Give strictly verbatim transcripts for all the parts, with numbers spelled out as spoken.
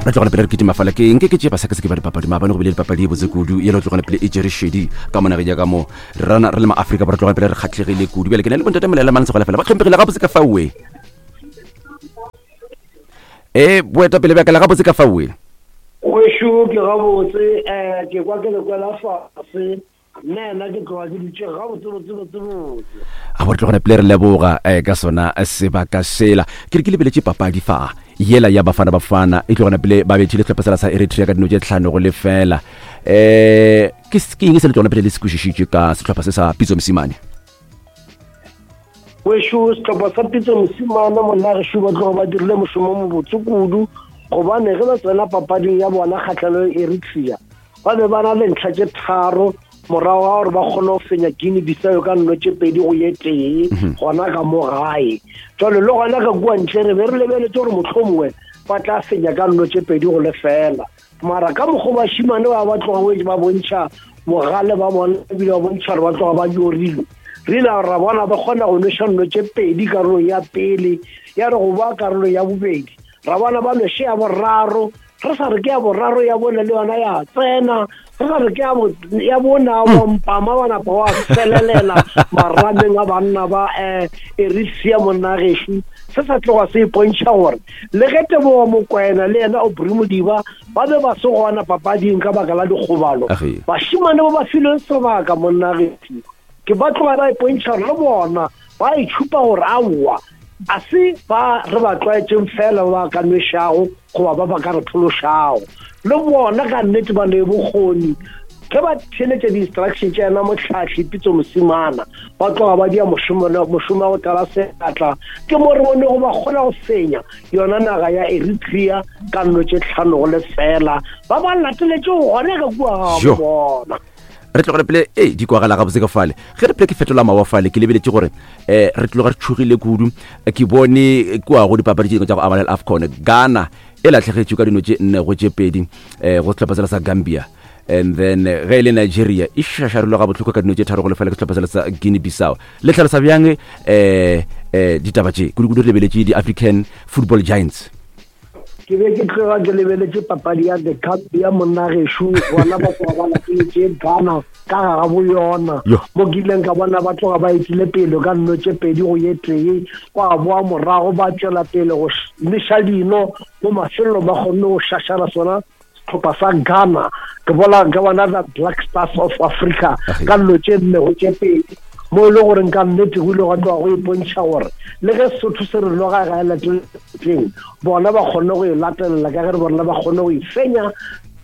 Re tlogela pele re kitima fala ke nke ke tšee basekaseki ba dipapadi. Maabane go bile dipapadi e botse kudu yela tlogela pele e tšere šedi ka mo nageng ya ka mo rena re le maafrika borwa, tlogela pele re kgatlhegile kudu. Bjale ke na le bontate Molela Mantse gola fela ba tlhomphegile gabotse ka faoe. E boetapele bja ka le gabotse ka faoe. Gešo ke gabotse, um ke kwa ke le kwela fase, nna ena ke tloga ke dutše gabotse botse botse botse. A bo re tlogela pele re leboga eh, ka sona sebaka sela. Ke re ke lebeletše papadi fa yela ya Bafana Bafana e tlogela pele ba bethile sehlopha sela sa Eritrea ka dino tše tlhano go lefela. um ke ke eng se le tlogela pele le se kwešišitše ka sehlopha se sa Pitso Mosimane? Wešo, sehlopha sa Pitso Mosimane monna gešo ba tloga ba dirile mošomo mobotse kudu, gobane ge ba tsena papading ya bona kgatlhano le Eritrea ba be ba na le ntlha tše tharo morago ga gore ba kgone go fenya Guinea Bissau ka nno tše pedi go ye tee gona ka mo gae. Jalo le gona ka kua ntle re be re lebeletse gore mohlomongwe ba tla fenya ka nno tše pedi go lefela, mara ka mokgwa bašimane ba ba tloga ba bontšha bogale ba bona ebile ba bontšha gore ba tloga ba nyorilwe. Re ile ra bona ba kgona go nweša nno tše pedi karolong ya pele, ya re go ba karolo ya bobedi ra bona ba nweše ya boraro, re sa re ke ya boraro ya bone le yona ya tsena, re sa re ke ya bona wa mpama ba napa wa felelela marameng a banna ba um Eritrea monna gešo. Se sa tloga se ipontšha gore le ge Tebogo Mokwena le yena Aubrey Modiba ba be ba se gona papading ka baka la dikgobalo, bašimane ba ba filweng sebaka monna gešo ke ba tloga ba ipontšha gore le bona ba itšhupa gore aowa a se ba re ba tlwaetšeng fela ba ka nwešago goba ba ba ka re phološago, le bona ka nnete ba ne bokgoni. Ge ba theletša di-instruction tša yena mohlahli Pitso Mosimana ba tloga ba dia mošomo mošomo wa go tlala seatla, ke mo re bonego ba kgona go fenya yona naga ya Eritrea ka nno tše tlhano go lefela, ba ba lateletše gona ka kua ga bona. Re tlogele pele e di kwagala gabotse ka fale. Ge re pele ke fetola mawa fale ke lebeletše gore um re tloga re tšhogile kudu. Ke bone kua go dipapadi tše dingwe tša go amana le AFCON, Ghana e latlhegetšwe ka dino tše nne go tše pedi um go sehlopha sela sa Gambia, and then ge e le Nigeria e šašarilwe ga bohloko ka dino tše tharo go lefela ke sehlopha sela sa Guinea Bissau. Le hlalosa bjang um um ditaba tše kudu-kudu re lebeletše di-African Football Giants? Ke be ke tloga ke lebeletše papadi ya the Gambia monna gešo, bona ba tloga ba lateletše Ghana ka ga bo yona mo ke ileng ka bona ba tloga ba etile pele ka nno tše pedi go ye tee, kwa boa morago ba tšwela pele go neša dino mo mafelelong ba kgonne go šašara sona sehlopha sa Ghana. Ke bona ke bona the Black Stars of Africa ka nno tše nne go tše pedi, mo e le gore nka nnete go ile gwa tloga go ipontšha gore le ge Sesotho se re noga ga e lateleng, bona ba kgonne go e latelela ka ge re bona ba kgonne go e fenya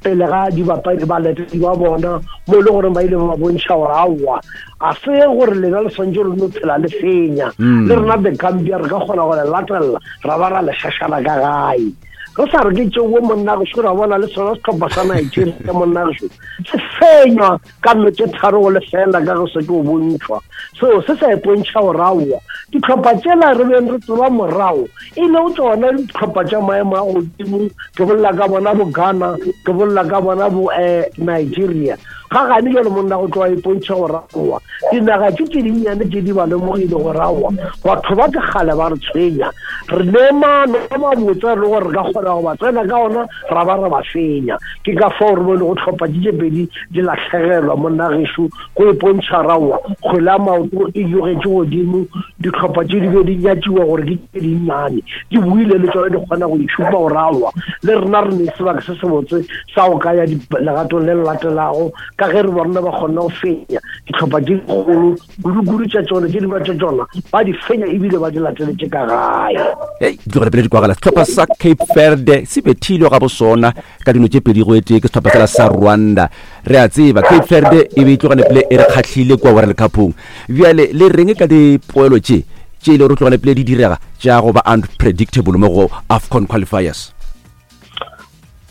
pele ga dibapadi balatedi ba bona, mo e le gore ba ile ba bontšha gore aowa a se gore lena le swantše re no phela le fenya, le rena the Gambia re ka kgona go le latelela ra ba ra le šašana ka gae. Re sa re ke tšeo monna gešo, ra bona le sona sehlopha sa Nigeria monna gešo se fenywa ka nno tše tharo go lefela ka ge se ke o bontšhwa. Seo se sa ipontšha gore aowa dihlopha tšela re beng re tseba morago e le go tšona dihlopha tša maemo a godimo, ke bolela ka bona bo Ghana, ke bolela ka bona bo um Nigeria. Ga gane jalo monna go tloga ipontšha gore aowa dinaga tše tše dinnyane tše di ba lemogile gore aowa batho ba ke kgale ba re tshwenya, re ne maano a mabotse re le gore re ka kgona go ba tsena ka ona ra ba ra ba fenya. Ke ka fao re bone go tlhopha tše tše pedi di lahlegelwa monna gešo, go ipontšha raowa kgwele ya maoto e nyogetše godimo, dihlopha tše di be di nyatšiwa gore ke tše dinnyane di buile le tsona di kgona go itšhupa gore aowa le rena re ne sebaka se sebotse sa go ka ya legatong le le latelago, ka ge re bona ba kgona go fenya dihlopha tše dikgolo kudu-kudu tša tšona tše dingwe tša tšona ba di fenya ebile ba di lateletše ka gae. Hei, di tlogele pele di kwagala. Sehlopha sa Cape Verde se bethilwe ga bosona ka dino tše pedi go e tee ke sehlopha sela sa Rwanda. Re a tseba Cape Verde e be e tlogane pele e re kgahlile kua World Cupong. Bjale le reng ka dipoelo tše tše e le gore tlogane pele di direga tša go ba unpredictable mo go AFCON qualifiers?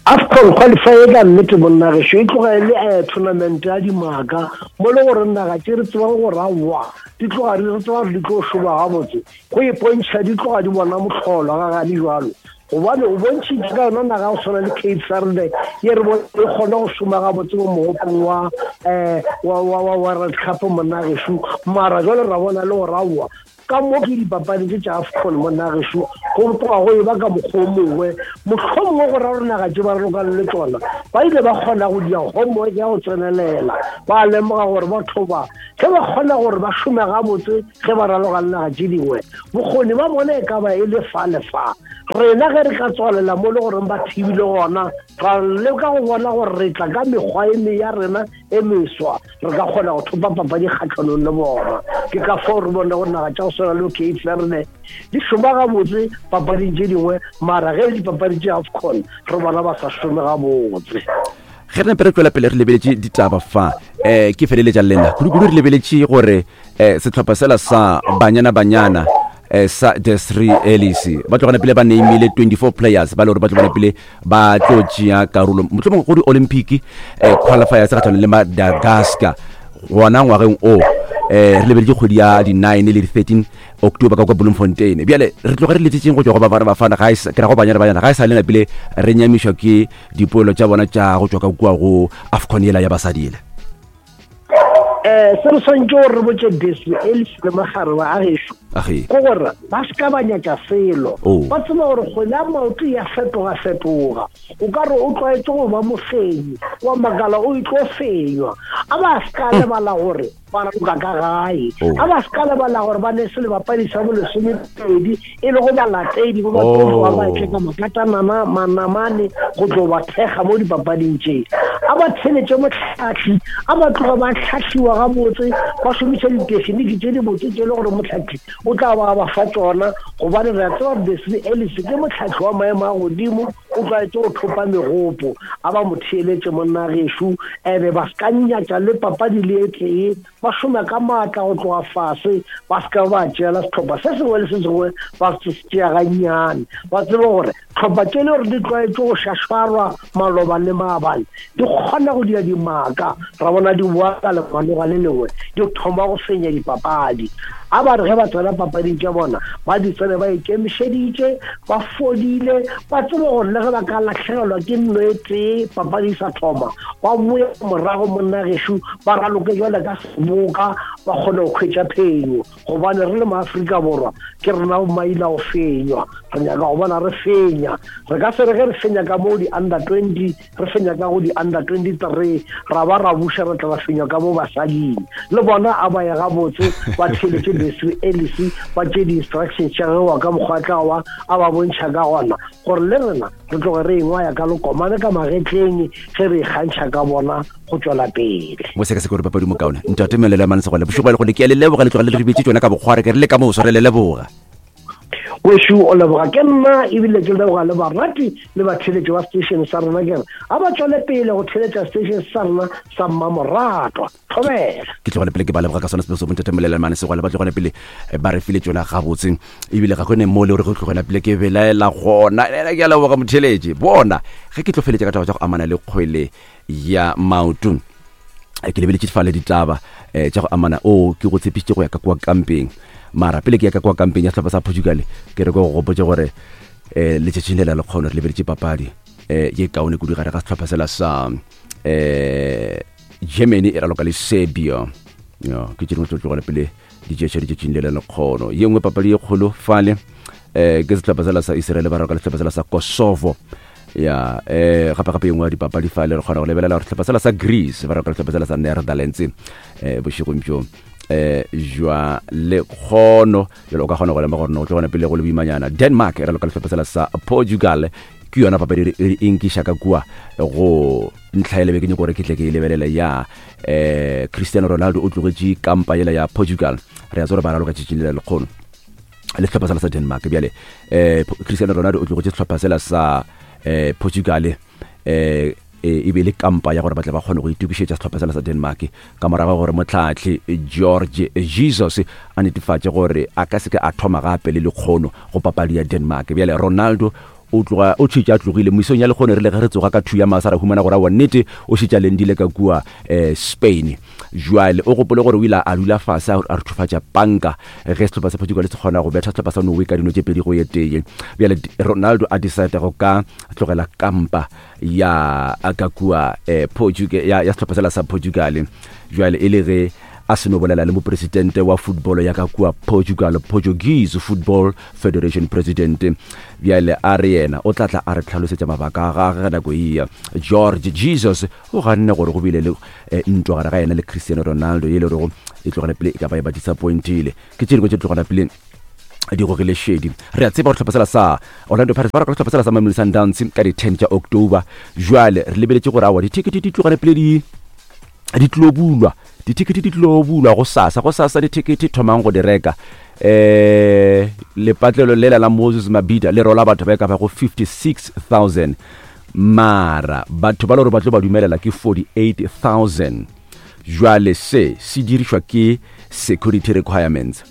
AFCON qualifier ka nnete monna gešo e tloga e le um tournament ya dimaka mo le gore naga tše re tsebang gore aowa di tloga re tseba gore di tlo šoma gabotse, go ipontšha di tloga di bona mohlolo ga gane jalo, gobane o bontšhitše ka yona naga go tshwana le Cape Verde ye re bone e kgona go šoma gabotse mo mogopong wa um wa wa World Cup monna gešo, mara jwale ra bona le gore aowa ka mo ke dipapadi tše tša AFCON monna gešo Go tloga go e ba ka mokgwa o mongwe, mohlomongwe go ra gore naga tše ba ralokang le tsona ba ile ba kgona go dia homework ya go tsenelela, ba lemoga gore batho ba ge ba kgona gore ba šome gabotse ge ba raloka le naga tše dingwe, bokgoni ba bona e ka ba e le fa le fa. Rena ge re ka tswalela mo le goreng ba thibile gona, ra leka go bona gore re tla ka mekgwa e me ya rena e meswa, re ka kgona go thopa papadi kgatlhanong le bona. Ke ka fao re bone gore naga tša go swana le Cape Verde di šoma gabotse papading tše dingwe, mara ge dipapadi tše AFCON re bona ba sa šome gabotse. Ge re nape re tswela pele re lebeletše ditaba fa, um ke feleletša lena kudu-kudu re lebeletše gore um sehlopha sela sa Banyana Banyana um sa Desiree Ellis ba tlogana pele ba nameile twenty-four players ba le gore ba tlogana pele ba tlo tšea karolo mohlomongwe go di-Olympic um qualifiers kgatlhanong le Madagascar gona ngwageng o. Um re lebeletše kgwedi ya di-nine le di-thirteen October ka kwa Bloemfontein. Bjale re tloga re letšetšeng go tšwa go Bafana Bafana, ga e sa- ke ra go Banyana Banyana, ga e sa le napile re nyamišwa ke dipoelo tša bona tša go tšwa ka kua go AFCON yela ya basadi ele. Um se re swantse gore re botse Desiree Ellis le mogare wa gešo age ke gore ba se ka ba nyatša selo. Oh. Ba tseba gore kgwele ya maoto ya fetoga-fetoga, o ka re o tlwaetse go ba mofenyi wa makala o itlo fenywa. A ba se ka lebala gore ba raloka ka gae, Oh. a ba se ka lebala gore ba ne se lebapadi sa bolesomepedi e le go balatedi ba ba Oh. tloga ba etle ka makatanana manamane go tlo ba thekga mo dipapading tše. A ba theletše mohlahli, a ba tloga ba hlahliwa gabotse, ba šomiša ditekiniki tše dibotse tše le gore mohlahli o tla ba ba fa tšona, gobane re a tseba gore Desiree Ellis ke mohlahli wa maemo a godimo, o tlwaetse go thopa megopo. A ba mo theeletše monna gešo, ebe ba se ka nyatša le papadi le e tee, ba šome ka maatla go tloga fase, ba se ka ba tšeela sehlopha se sengwe le se sengwe ba se tšea gannyane. Ba tsebe gore tlhopha tše le gore di tlwaetse go šašwarwa maloba le maabane di kgona go dia dimaka, ra bona di boa ka lemanoga le lengwe di thoma go fenya dipapadi. A ba re ge ba tsena papading tša bona ba di tsene ba ikemišeditše, ba fodile, ba tsebe gore le ge ba ka lahlegelwa ke nno e tee papadi e sa thoma, ba boe morago monna gešo ba raloke jwale ka seboka, ba kgone go hwetša phenyo. Gobane re le maAfrika Borwa ke rena bo maila go fenywa, re nyaka go bona re fenya. Re ka se re ge re fenya ka mo di-under twenty, re fenya ka go di-under twenty-three, ra ba ra buša re tla ba fenywa ka mo basading. Le bona a ba ye gabotse, ba theeletše Desiree Ellis, ba tšee di-instructions tša gagwe wa ka mokgwa tla wa a ba bontšha ka gona gore le rena re tloge re engwaya ka lekomane ka magetleng ge re ikgantšha ka bona go tšwela pele. Mo sekaseke gore papadi mokaone ntate Melelo Mane Segwale, bošego ba le gone ke a le leboga, le tloga le re betse tšona ka bokgware, ke re le ka mo sware le leboga. Wešo o leboga ke nna, ebile ke leboga le barati le batheeletši ba station sa rena, ke re a ba tšwele pele go theeletša station sa rena sa Mmamoratwa. Thobela. Ke tlogele pele ke ba leboga ka sona sebego sa bontate Melelo Mane Segwale, ba tlogele pele ba re file tšona gabotse, ebile ga gone mo le gore go tlogela pele ke belaela gona. Ena ke a leboga motheeletši. Bona ge ke tlo feletša ka taba tša go amana le kgwele ya maoto, ke lebeletše fale ditaba eh, tša go amana o ke go tshepišitše go ya ka kua kampeng, mara pele ke ya ka kua kampeng ya sehlopha sa Portugal, ke re ke go gopotše gore eh, letšatšing le la lekgono re lebeletše papadi eh, ye kaone kudu gare ga sehlopha sela sa eh, Germany e raloka le Serbia. Ya, ke tše dingwe tlo tlogela pele di tšeša letšatšing le la lekgono. Ye nngwe papadi ye kgolo fale eh, ke sehlopha sela sa Israel ba raloka le sehlopha sela sa Kosovo. Ya, eh, gape gape ye nngwe ya dipapadi fale re kgona go lebelela gore sehlopha sela sa Greece ba raloka le sehlopha sela sa Netherlands eh, bošegong bjo eh, jwa lekgono. Jalo o ka kgona go lemoga gore no tlo gona pele go le boimanyana. Denmark e raloka le sehlopha sela sa Portugal, ke yona papadi e e nkiša ka kua go ntlha e lebe ke nyako gore ke tle ke e lebelele ya eh, Cristiano Ronaldo o tlogetše kampa yela ya Portugal, re a tseba gore ba raloka tšatšing le la lekgono le sehlopha sela sa Denmark. Bjale eh, Cristiano Ronaldo o tlogetše sehlopha sela sa eh, Portugal eh, e be le kampa ya gore ba tle ba kgone go itokišetša sehlopha sela sa Denmark ka morago gore mohlahli George Jesus a netefatše gore a ka se ke a thoma gape le lekgono go papadi ya Denmark. Bjale Ronaldo o tloga o tšhetše a tlogile mesong ya lekgono, re le ge re tsoga ka two ya masa ra humana gore aowa nnete o šetše a lendile ka kua eh, Spain. Jwale o gopole gore o ile a dula fase a re thufatša panka ge sehlopha sa Portugal se kgona go betha sehlopha sa Norway ka dino tše pedi go ye tee. Bjale Ronaldo a decide go ka tlogela kampa ya ka kua eh, Portugal ya, ya sehlopha sela sa Portugal. Jwale e le ge a a seno bolela le mopresidente wa football ya ka kua Portugal, Portuguese Football Federation president. Bjale a re yena o tla tla a re tlhalosetša mabaka a gagwe ge nako eya. George Jesus o ganne gore go bile le eh, ntwa gare ga yena le Cristiano Ronaldo ye le rego e tlogela pele e ka ba e ba disappointile. Ke tše dingwe tše tlogela pele di gogile šedi. Re a tseba gore sehlopha sela sa Orlando Pirates ba raka sehlopha sela sa Mamelodi Sundowns ka di ten tša October. Jwale re lebeletše gore awa dithekete di tlogane pele di di tlo bulwa, dithekete di tlo bulwa go sasa, go sasa dithekete thomang go di reka. eh lepatlelo lela la Moses Mabhida le rola batho ba e ka bago fifty-six thousand, mara batho ba le gore ba tlo ba dumelela ke forty-eight thousand. Jwale se se dirišwa ke security requirements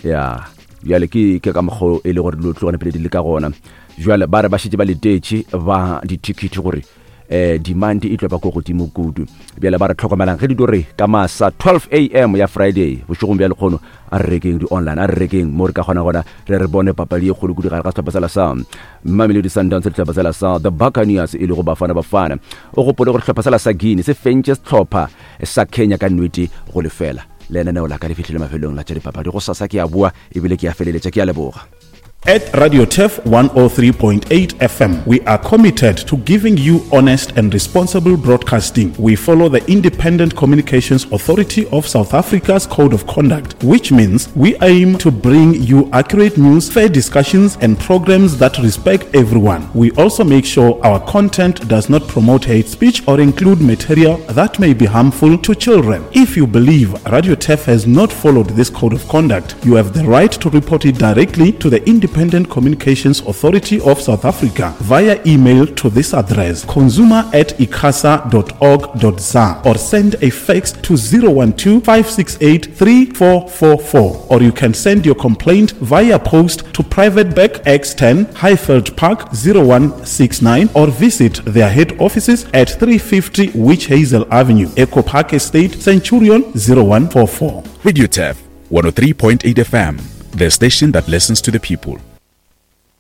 ya bjale ke ke ka mokgwa e le gore dilo tlogane pele di le ka gona. Jwale ba re ba šetše ba letetše ba dithekete gore eh demand e tlo ba ko godimo kudu. Bjale ba re tlhokomelang ge di do re ka masa twelve a m ya Friday bošegong bja lekgono, a re rekeng di-online, a re rekeng mo re ka kgona gona re re bone papadi e kgolo kudu gare ga sehlopha sela sa Mamelodi Sundowns le sehlopha sela sa the Buccaneers e lego Bafana Bafana. O gopole gore sehlopha sela sa Guinea se fentše sehlopha sa Kenya ka nnete go lefela. Lenaneo la ka le fihlile mafelong la tša dipapadi. Go sasa ke a boa ebile ke a feleletša. Ke a leboga. At Radio Turf one oh three point eight F M, we are committed to giving you honest and responsible broadcasting. We follow the Independent Communications Authority of South Africa's Code of Conduct, which means we aim to bring you accurate news, fair discussions, and programs that respect everyone. We also make sure our content does not promote hate speech or include material that may be harmful to children. If you believe Radio Turf has not followed this code of conduct, you have the right to report it directly to the Independent Communications Authority of South Africa via email to this address, consumer at icasa dot org dot za, or send a fax to zero one two, five six eight three four four four, or you can send your complaint via post to Private Bag X ten, Highveld Park, zero one six nine, or visit their head offices at three fifty Witch Hazel Avenue, Echo Park Estate, Centurion, zero one four four. Radio Turf one oh three point eight F M, the station that listens to the people.